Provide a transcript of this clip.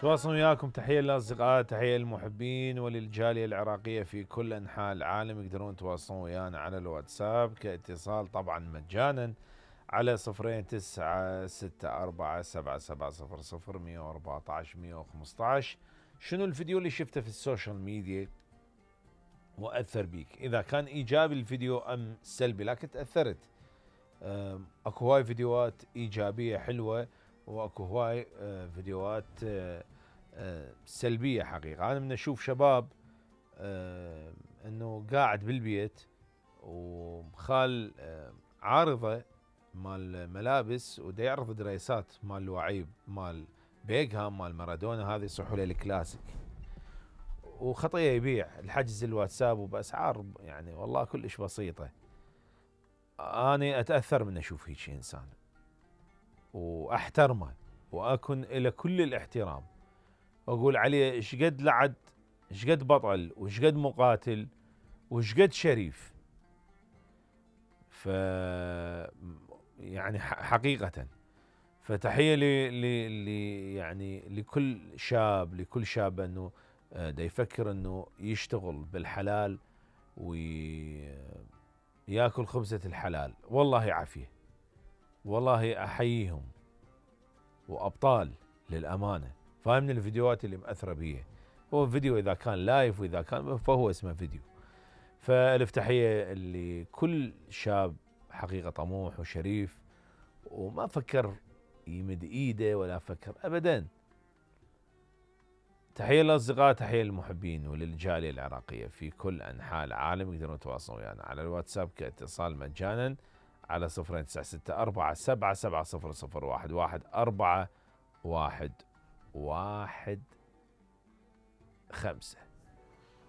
تواصل وياكم. تحية للأصدقاء، تحية للمحبين وللجالية العراقية في كل أنحاء العالم. يقدرون يتواصلون ويانا على الواتساب كاتصال طبعا مجانا على 09647700 شنو الفيديو اللي شفته في السوشيال ميديا وأثر بيك؟ إذا كان إيجابي الفيديو أم سلبي، لكن تأثرت. أكو هواي فيديوهات إيجابية حلوة، وأكو هواي فيديوهات سلبية. حقيقة أنا من أشوف شباب أنه قاعد بالبيت ومخال عارضة مال ملابس ودا يعرض دريسات مال لعيب مال بيغهام مال مارادونا، هذه يصحوا له الكلاسيك، وخطية يبيع الحجز الواتساب وبأسعار يعني والله كلش بسيطة. أنا أتأثر من أشوف هيك إنسان وأحترمه وأكن إلى كل الاحترام، أقول عليه إشقد لعد، إشقد بطل، وإشقد مقاتل، وإشقد شريف. ف يعني حقيقة فتحية يعني لكل شاب انه دا يفكر انه يشتغل بالحلال وياكل خبزة الحلال. والله عافية، والله احييهم وابطال للامانة. فاهم؟ من الفيديوهات اللي مأثرة بيه هو فيديو، اذا كان لايف واذا كان فهو اسمه فيديو. فالف تحية لكل شاب حقيقة طموح وشريف وما فكر يمد ايده ولا فكر ابدا. تحية للاصدقاء، تحية للمحبين وللجالية العراقية في كل انحاء العالم. يقدرون يتواصلون ويانا على الواتساب كاتصال مجانا على 0964770011 415.